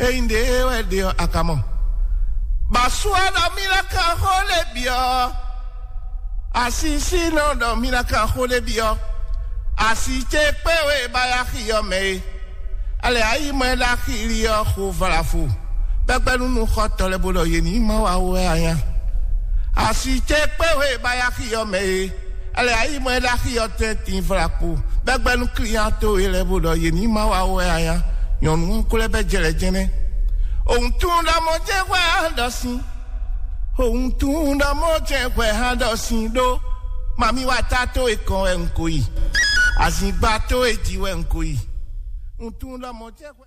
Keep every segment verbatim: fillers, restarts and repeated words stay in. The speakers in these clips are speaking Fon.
Ényí ɖě wɛ ɖe ɔ́, a ka mɔ? Bɔ asú ɔ́ ɖɔ mì ná kan xó lɛ́ɛ bǐ ɔ́, asisínɔ ɖɔ mì ná kan xó lɛ́ɛ bǐ ɔ́, asi ce kpé we ba yá xi ɔ́ mɛ é. Alɛ ayimɔ e ɖo axi li ɔ́ xo vlavo, bɛgbɛnúnuxɔtɔ́ lɛ́ɛ bó ɖɔ yě ní má wa wɛ anya. Asi ce kpé we ba yá xi ɔ́ mɛ é. Alɛ ayimɔ e ɖo axi ɔ́ tɛ́ntin vlakpo, bɛgbɛnú klíán towe lɛ́ɛ bó ɖɔ yě ní má wa wɛ anya. Nyɔ̌nu ɔ́ ko lɛ́ bɛ́ jɛ lɛ́ jɛ́nɛ́. Òun tún ɖɔ mɔ jɛ́n hwɛ á ɖɔ sin. Òun tún ɖɔ mɔ jɛ́n hwɛ á ɖɔ sin ɖó. Mami wa ta towe kɔn wɛ un ko yi. Azǐngba towe jí wɛ un ko yi. Un tún ɖɔ mɔ jɛ́n hwɛ.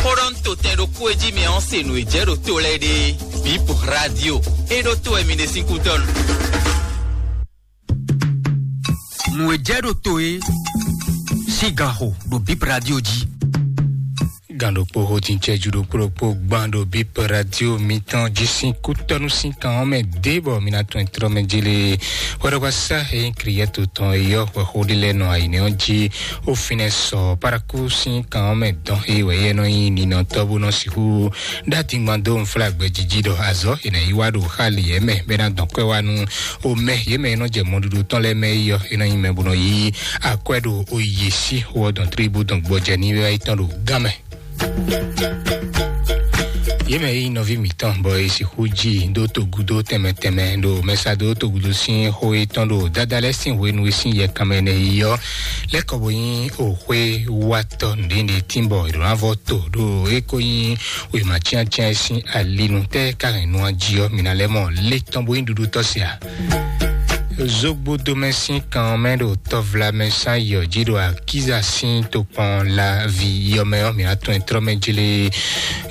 Xó ɖɔ un to tɛn ɖokpó e jí mɛ ɔ́ se nǔ e jɛ ɖo to lɛ́ɛ ɖe. Bip Radio. E ɖo to wɛ mi ɖe sín kútɔ́nu. Nǔ e jɛ ɖo to e sín gan xo ɖo Bip Radio jí. Gan ɖokpó xo tin cɛjú ɖokpó ɖokpó gban ɖo Bip Radio mitɔn jí sín kútɔ́nu sín kan ɔ́ mɛ dé bɔ mi ná tún ɛ tlɔ́ mɛ jélé. Hwɛɖɔgbasá e nyí Kliyɛ́to tɔn e yɔ́ hwɛxó ɖé lɛ́ɛ nɔ ayǐnɛ́ ɔ́ jí. Ó fínɛ́ sɔ Paraku sín kan ɔ́ mɛ dɔn e wɛ yɛ nɔ nyí ninɔtɔ́ bó nɔ sixú ɖó adingban dó nflágbɛ́ jiji ɖɔ azɔ̌ è nǎ yi wá ɖo xá lǐyɛ́ mɛ bɔ é ná dɔn kwɛ́ wá nú omɛ yě mɛ e nɔ jɛ mɔɖuɖu tɔn lɛ́ɛ mɛ é yɔ́. É nɔ nyí mɛ bó nɔ yí akwɛ́ ɖo oyě sí xó ɔ́ dɔn tlí bó dɔn gbɔjɛ ní wɛ tɔn ɖo gán mɛ. Yě mɛ e nyí nɔví mǐtɔn bɔ è sixú ji dó togúdó tɛnmɛ tɛnmɛ ɖo mɛsado togúdó sín xó yětɔn ɖo dada lɛ́ɛ sín hwenu e sín yɛkanmɛ nɛ́ yi ɔ́ lɛ́ kɔ bo nyí òxwé watɔ́ nǔɖénúɖé tínbɔ è ɖǒ ná vɔ to ɖo é ko nyí wěma cyáncyán e sín ali nu tɛ́ ka hɛn nu ɔ́ jí ɔ́, mǐ ná lɛ́ mɔ lé tɔn bó nyí ɖuɖu tɔ́ se ǎ. Zogbodomɛ sín kan ɔ́ mɛ ɖo tɔvlamɛ sán yɔ jí ɖo akíza sín tokpɔn la vi yɔmɛ ɔ́, mǐ ná tɔn ɛ tlɔ́ mɛ jlé.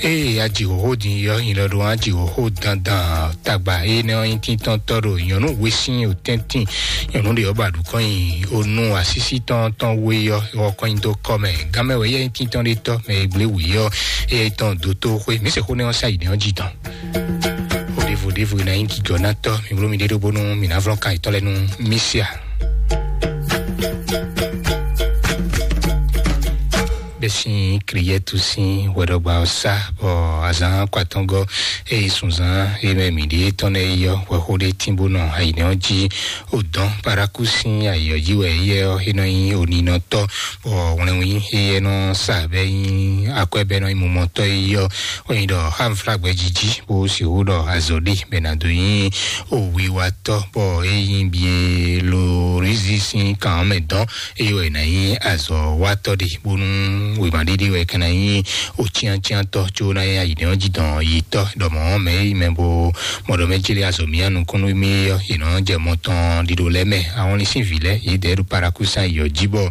Ée a ji xóxó din yɔ nyi lɔ ɖo a ji xóxó dandan tagba énɛ́ ɔ́ nyí tíntɔ́ntɔ́ ɖo nyɔ̌nu we sín otɛ́ntin nyɔ̌nu ɖě ɔ́ ba ɖu kɔn nyi onu asísí tɔn tɔn we ɔ́ wɔ kɔn nyi dó kɔ mɛ. Gánmɛ wɛ yɛ nyí tíntɔ́n ɖé tɔ́ mɛ e gblé wǔ yɔ éyɛ́ tɔn dó tó xwé mǐ se xó nɛ́ ɔ́ sá yi nɛ́ ɔ́ jí tɔn. Xó ɖěvo ɖěvo e ná nyí gǐgɔ́nátɔ́ mi bló mi ɖé ɖó bónú mǐ ná vlɔ́n kan yětɔn lɛ́ɛ nú mì se a? Bɛ sín Kliyɛ́tu sín hwɛɖɔgba ɔ́ sá bɔ azǎn kɔ atɔngɔ́ e yi sunzán e mɛ mǐ ɖíe tɔn lɛ́ɛ yi ɔ́, hwɛxó ɖé tín bó nɔ ayǐnɛ́ ɔ́ jí. Odɔn Paraku sín ayǐ ɔ́ jí wɛ éyɛ́ ɔ́, é nɔ nyí oninɔtɔ́, bɔ wlɛnwín éyɛ́ nɔ sa bɔ é nyí akwɛ́ bɔ é nɔ nyí mumɔtɔ́ yi ɔ́, wɛ nyí ɖɔ xá nflágbɛ́ jí jí bó sixú ɖɔ azɔ̌ ɖe bɔ è nǎ dó nyí owiwatɔ́, bɔ é nyí Bielorúsi sín kan ɔ́ mɛ dɔn. Eye wɛ è nǎ nyí azɔ̌watɔ́ ɖe, bónú wěma ɖé ɖé wɛ é ka ná nyí ocyáncyántɔ́, có ná nyí ayǐnɛ́ ɔ́ jí dɔn yitɔ́, ɖɔ mɔ̌ mɛ e mɛ bo mɔ ɖɔ mɛ céɖé azɔ̌ mì nukúnnú mì ɔ́, yě nɔ jɛ mɔ tɔn ɖiɖo lɛ́ɛ mɛ. Ahɔnlin sín vǐ lɛ́ɛ, yě dɛ̌ ɖo Parakúsán yɔ jí bɔ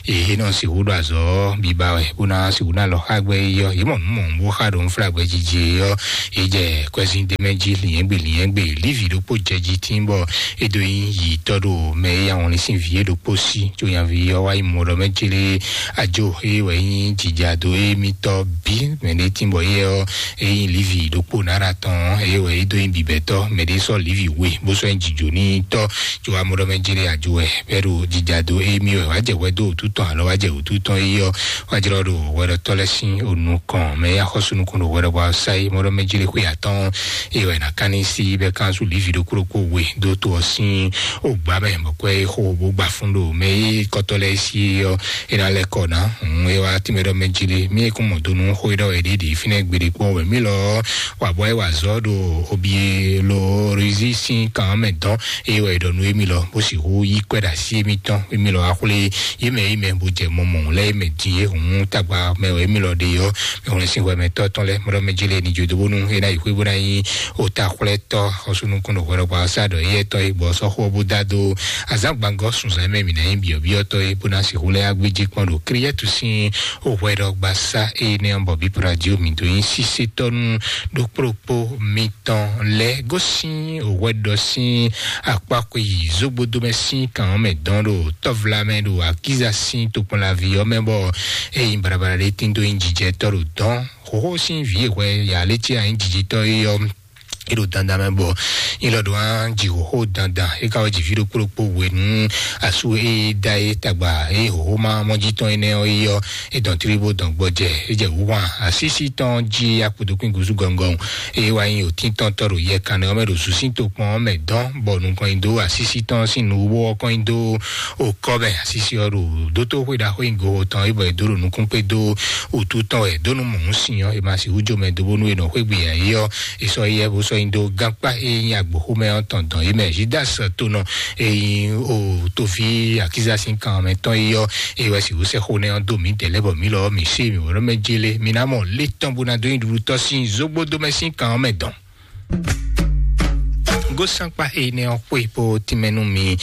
yě nɔ sixú ɖo azɔ̌ biba wɛ, bó ná sixú ná lɔ xá gbɛ yi ɔ́, yě mɔ nǔ mɔ̌ bó xá ɖo nflágbɛ́ jiji ɔ́, yě jɛ kwɛzín d'é mɛ jí lǐnyɛ́gbe lǐnyɛ́gbe. Lívi ɖokpó jɛ jí tín bɔ é dó nyí yǐtɔ́ ɖo mɛ e yá wɔnlin sín vǐ é ɖokpó sí, có nyaví ɔ́ wá yi mɔ ɖɔ mɛ céɖé ajo é wɛ nyí jijado émítɔ́ bǐ mɛ ɖé tín bɔ éyɛ́ ɔ́, é nyí Lívi ɖokpó nára tɔn ɔ́, é wɛ é dó nyí bǐbɛ́tɔ́, mɛ ɖé sɔ́ Lívi we bó sɔ́ nyí jǐjǒnítɔ́, có wá mɔ ɖɔ mɛ céɖé ajo wɛ bɛ́ ɖo jijado émí wɛ wá jɛ hwɛ dó wǔtu tɔn alɔ wá jɛ wǔtu tɔn é ɔ́, wá jlɔ́ ɖo hwɛɖɔtɔ́ lɛ́ɛ sín onukɔn mɛ e axɔ́sú nukɔn ɖo hwɛɖɔgbá ɔ́ sá é mɔ ɖɔ mɛ céɖé xwé atɔ́ɔ́n é wɛ è nǎ ká ní sí bɛ́ kánsu Lívi ɖokpó ɖokpó we dó to ɔ́ sín ogbǎ mɛ, bɔ kwɛ́ e xo bó gba fún ɖo mɛ e kɔtɔ́ lɛ́ɛ sí é ɔ́, é ná lɛ́ kɔ ná. Hǔn é wá tínmɛ ɖɔ mɛ jí lé, mí e kún mɔ do nú xó e ɖɔ wɛ ɖě ɖě fínɛ́ gbeɖé kpɔ́n wɛ mí lɔ ɔ́, wa bɔ é wa azɔ̌ ɖo Obielorisi sín kan ɔ́ mɛ dɔn, é wɛ è ɖɔ nú émí lɔ, bó sixú yí kwɛ́ ɖo así émítɔn, émí lɔ wá xwlé yě mɛ yě mɛ bó jɛ mɔ mɔ̌ lɛ́ɛ mɛ din é hǔn tagba mɛ wɛ émí lɔ ɖe ɔ́, mɛ hwlɛ́n sín hwɛ mɛ tɔ́ tɔn lɛ́ɛ, mɔ ɖɔ mɛ jí lé ní jó dó bónú é ná yi xwé bó ná nyí otaxwlɛ́tɔ́ xɔsúnukún ɖo hwɛɖɔgbá ɔ́ sá ɖɔ éyɛ́ tɔ́ é gbɔ ɔ́ sɔ́ xó ɔ́ bó dó adó azǎn gbangɔ́ sunzan mɛ mǐ ná nyí byɔ̌byɔ́tɔ́ é bó ná sixú lɛ́ yá gbéjé kpɔ́n ɖo Kliyɛ́tu sín hwɛɖɔgbasá énɛ́ ɔ́ bɔ bípúra jí mǐ dó nyí sísétɔ́ nú ɖokpóɖokpó mitɔn lɛ́ɛ gosín hwɛɖɔ sín akpákwe yi zógbódó mɛ sín kan ɔ́ mɛ dɔn ɖo tɔ́vla mɛ ɖo akíza sín tokpɔnlaví ɔ́ mɛ bɔ é nyí baɖabaɖa ɖé tín dó nyí jijɛtɔ́ ɖo dɔn xóxó sín vǐ e hwɛ yǎ lé cí anyí jijitɔ́ é ɔ́ é ɖo dandan mɛ bɔ ilɔ ɖo án jǐxóxó dandan é ka wɔ jǐví ɖokpó ɖokpó hwenu asú é da é tagba é hǒxóma mɔjí tɔn énɛ́ ɔ́ é yɔ é dɔn tlí bó dɔn gbɔjɛ é jɛ wúhwan asísí tɔn jí akpodokún gúzú gɔngɔn é wá nyi òtíntɔ́ntɔ́ ɖo yɛ kanɖe ɔ́ mɛ ɖo zǔsín tokpɔn ɔ́ mɛ dɔn bɔ nukɔn nyi dó asísí tɔn sín nuwó ɔ́ kɔn nyi dó okɔ mɛ asísí ɔ́ ɖo dótó xwé ɖaxó nyi goho tɔn é bɔ é dó ɖo nukún kpé dó wǔtu tɔn wɛ dó nú mɔ̌húnsin ɔ́ é ma sixú jó mɛ dó bónú é nɔ xwé gbe yǎyí ɔ́ é sɔ́ yɛ bó sɔ́ nyi dó gánkpá e nyí agbǒxomɛ ɔ́ tɔn dɔn é mɛ Judas tonɔ e nyí o toví akíza sín kan mɛ tɔn é yɔ é wɛ sixú sɛ́ xó nɛ́ ɔ́ dó mǐdɛɛ lɛ́ɛ bɔ mǐ lɔ mǐ sé mǐ wɛ ɖɔ mɛ jélé mǐ ná mɔ lé tɔn bó ná dó nyi ɖuɖutɔ́ sín zógbódó mɛ sín kan ɔ́ mɛ dɔn. Gósankpa énɛ́ ɔ́ xwé bó tínmɛ nú mi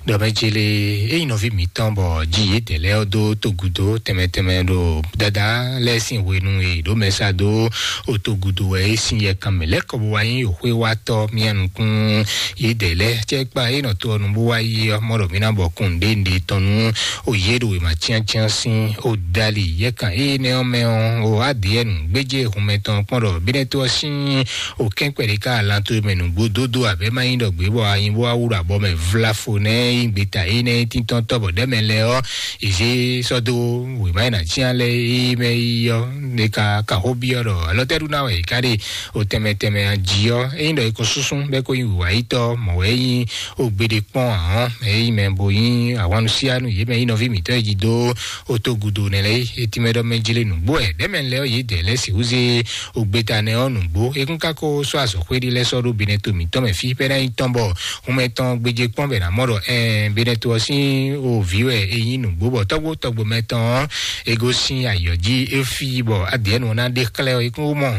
ɖɔ mɛ jélé é nyí nɔví mǐtɔn bɔ jí yědɛɛ lɛ́ɛ ɔ́ dó togudo tɛnmɛ tɛnmɛ ɖo dada lɛ́ɛ sín hwenu e ɖǒ mɛ sá dó o togudo wɛ é sín yɛ kanmɛ lɛ́ kɔ bó wá nyí o xwé wá tɔ́ mía nukún yědɛɛ lɛ́ɛ cɛ kpa é nɔ to ɔ́ nu bó wá yi ɔ́ mɔ ɖɔ mí ná bɔ kún ɖé ɖé tɔn nú o yě ɖo wěma cyáncyán sín o dali yɛ kan énɛ́ ɔ́ mɛ ɔ́ o adìɛ nǔgbéjé hun mɛ tɔn kpɔ́n ɖɔ bínɛ́ tó ɔ́ sín o kɛ́nkpɛ́ ɖé ká alan towe mɛ nǔgbó dódó abɛ má nyí ɖɔ gbě bɔ anyi bó wá wú ɖo abɔ mɛ vlafo nɛ́ nyí gbeta énɛ́ tíntɔ́ntɔ́ bɔ ɖɛ́ mɛ lɛ́ɛ ɔ́ ìzé sɔ́ dó wěma e nǎ cyán lɛ́ɛ é mɛ yi ɔ́ ɖe ka ka xó byɔ́ ɖɔ alɔtɛ́ɖu ná wɛ è ká ɖe o tɛnmɛ tɛnmɛ ají ɔ́ é nyí ɖɔ è ko súnsún bɛ́ kó nyí wǐwáyítɔ́ mɔ̌ wɛ é nyí o gbeɖé kpɔ́n ahɔn é nyí mɛ bo nyí ahwannusianu yě mɛ nyí nɔví mǐtɔn e jí dó o togudo nɛ lɛ́ɛ é tínmɛ ɖɔ mɛ jlé nǔgbó ɛ ɖɛ́ mɛ lɛ́ɛ ɔ́ yě dɛ̌ lɛ́ɛ sixú zé o gbeta nɛ ɔ́ nǔgbó é kún ka ko sɔ́ azɔ̌xwé ɖé lɛ́ɛ sɔ́ ɖó binɛ to mǐtɔn mɛ fí bɛ́ ná nyí tɔn bɔ hun mɛ tɔn gbéjé kpɔ́n bɛ ná mɔ ɖɔ ɛɛ binɛ to ɔ́ sín o vǐ wɛ é nyí nǔgbó bɔ tɔ́gbó tɔ́gbó mɛ tɔn ɔ́ é gosín ayǐ ɔ́ jí é fí bɔ adǐɛnu ɔ́ ná ɖe xlɛ́ ɔ́ é kún mɔ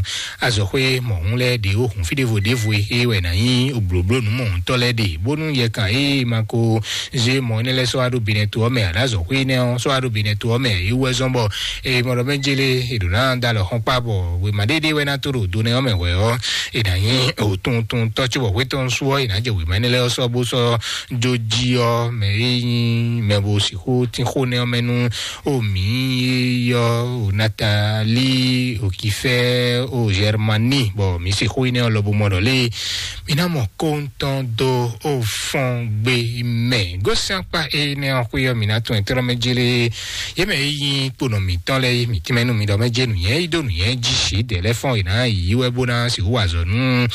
azɔ̌xwé mɔ̌hun lɛ́ɛ ɖě ó hun fí ɖěvo ɖěvo é wɛ ná nyí blǒblónú mɔ̌huntɔ́ lɛ́ɛ ɖe bónú yɛ kan é ma ko zé mɔ énɛ́ lɛ́ɛ sɔ́ wá ɖó binɛ to ɔ́ mɛ aɖǎ azɔ̌xwé énɛ́ ɔ́ sɔ́ wá ɖó binɛ to ɔ́ mɛ é wú wɛ zɔ́n bɔ é mɔ ɖɔ mɛ jélé è ɖǒ ná da alɔ xɔ́n kpá bɔ wěma ɖéɖé wɛ ná tó ɖo do nɛ ɔ́ mɛ hwɛ̌ ɔ́ è nǎ nyí òtuntuntɔ́ cóbɔ hwé tɔn sú ɔ́ è nǎ jɛ wěma énɛ́ lɛ́ɛ ɔ́ sɔ́ bó sɔ́ jó jí ɔ́ mɛ é nyí mɛ bo sixú tín xó nɛ́ ɔ́ mɛ nú o mǐ yɔ o Natali o Kifɛ o Germani bɔ mǐ se xó énɛ́ ɔ́ lɔ bó mɔ ɖɔ lé mǐ ná mɔ kóntɔn dó o fɔn gbe mɛ gósín akpa énɛ́ ɔ́ xwé ɔ́ mǐ ná tún ɛtɛ́nɔ́ mɛ jélé yé mɛ é nyí kponɔ mǐtɔn lɛ́ɛ mǐ tínmɛ nú mi ɖɔ mɛ jé nǔnyɛ yí dó nǔnyɛ jí sǐ dɛ̌ lɛ́ɛ fɔ́n è nǎ yí wɛ bó ná sixú wa azɔ̌ nú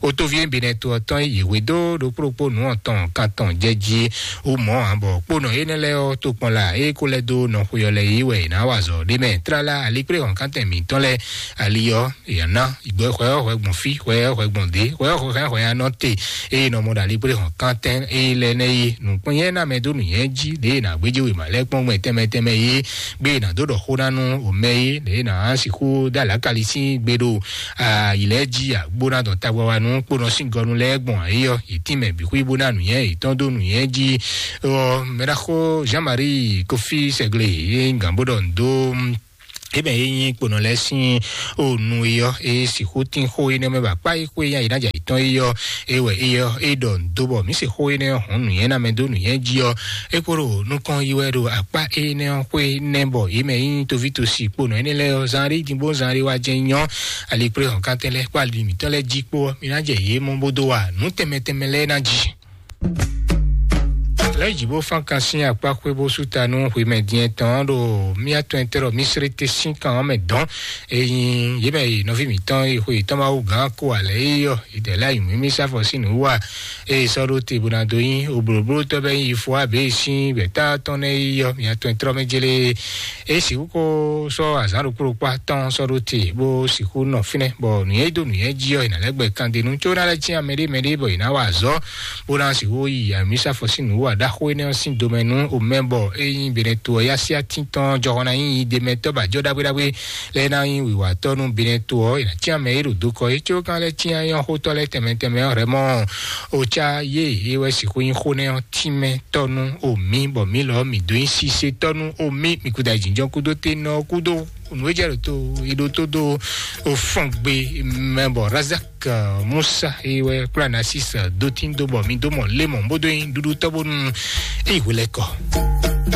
o tóví e binɛ to ɔ́ tɔn yě hwe dó ɖokpó ɖokpó nǔ ɔ̀tɔn kan tɔn jɛ jí wú mɔ̌ ǎ bɔ kponɔ énɛ́ lɛ́ɛ ɔ́ tokpɔn la é kó lɛ́ dó nɔ xwe ɔ́ lɛ́ɛ yí wɛ è nǎ wa azɔ̌ ɖé mɛ tlala aliklé hɔ̌nkántɛn mǐtɔn lɛ́ɛ ali ɔ́ yě ná gbɔ xwɛ ɔ́ hwɛ gbɔn fí xwɛ ɔ́ hwɛ gbɔn dě xwɛ ɔ́ hwɛ hɛn hwɛ anɔ te eye nɔ mɔ ɖo aligbléhɔn kántɛn eye lɛ nɛ yi nǔkpɔ́nyɛ ná mɛ dó nǔnyɛ jí ɖě nǎ gbéjé wěma lɛ́ɛ kpɔ́n gbɛn tɛnmɛ tɛnmɛ yé gbé nǎ dó ɖɔ xó ná nú òmɛ yé ɖě nǎ sixú dó alǎkali sín gbe ɖo ayǐ lɛ́ɛ jí agbó ná dɔn tagbawanu kpónɔ sín gɔnu lɛ́ɛ gbɔn ayé ɔ́ yě tín mɛ bǐ xwí bó ná nǔnyɛ yětɔn dó nǔnyɛ jí ɔ mɛɖaxó Jean-Marie Kofi Sɛglé yé gǎn bó ɖɔ nǔ dó ebe ye nyi kponɔ lɛ sin o nu yɔ e sixú tin xó yi nɛ mɛ ba kpa yi xó yi yi na ja yi tɔn yi yɔ e wɛ e yɔ e ɖɔ do bɔ mi se xó yi nɛ hɔn nu yɛ na mɛ do nu yɛ ji yɔ e kpo ɖo nukɔn yi wɛ ɖo akpa e nɛ xó yi nɛ bɔ yi mɛ yi tovi to si kponɔ yi nɛ lɛ yɔ zan ɖe din bo zan ɖe wa jɛ nyɔ ali kple hɔn kantɛ lɛ kpa ali mitɔ lɛ ji kpo mi na jɛ yi mɔ bo do wa nu tɛmɛ tɛmɛ lɛ na ji. Lɛ́ jǐ bó fán kan sín akpá xwé bó sú ta nú xwemɛ din tɔn ɖo mía tɔn tɛ́ ɖɔ Mísírì te sín kan ɔ́ mɛ dɔn. Eyin yě mɛ yi nɔví mǐtɔn yi xwe yětɔn Mawu gǎn ko alɛ yi yɔ yi dɛ̌ lɛ́ yi mǐmí sáfɔ sín nǔ wa. Eye sɔ́ ɖó te bó ná dó nyí oblǒblótɔ́ bɛ́ yi fo abě sín gbɛ̌ta tɔn nɛ́ yi yɔ mía tɔn tɛ́ mɛ jélé. E sixú ko sɔ́ azǎn ɖokpó ɖokpó atɔn sɔ́ ɖó te bó sixú nɔ fínɛ́ bɔ nǔnyɛ dó nǔnyɛ jí ɔ́, è nǎ lɛ́ gbɛ kandenu có ná lɛ́ cyán mɛɖé mɛɖé bɔ è nǎ wa azɔ̌ bó ná sixú yi amǐsafɔ sín nǔ wa ɖaxó énɛ́ ɔ́ sín domɛ nú omɛ bɔ é nyí Benɛto ɔ́ yá sí atín tɔn jɔhɔn ná nyí yi ɖe mɛ tɔ́ ba jɔ ɖagbe ɖagbe lɛ́ɛ ná nyí wǐwatɔ́ nú Benɛto ɔ́, è nǎ cyán mɛ é ɖo do kɔ é có gán lɛ́ cyán nyɔ́xótɔ́ lɛ́ɛ tɛnmɛ tɛnmɛ ɔ́ hɛmɔ. Oca yé é wɛ sixú nyí xó nɛ́ ɔ́ tínmɛ tɔ́ nú omi bɔ mǐ lɔ mǐ dó nyí sise tɔ́ nú omi mǐ kúdó ayǐjínjɔ́n kúdó te nɔ kúdó nǔ e jɛ ɖo to yi ɖo tó dó fɔn gbe mɛ bɔ Razak Musa yi wɛ kplá Nasis dó tín dó bɔ mi dó mɔ lé mɔ bó dó nyi ɖuɖu tɔ́ bónú eyi hwelɛ́kɔ.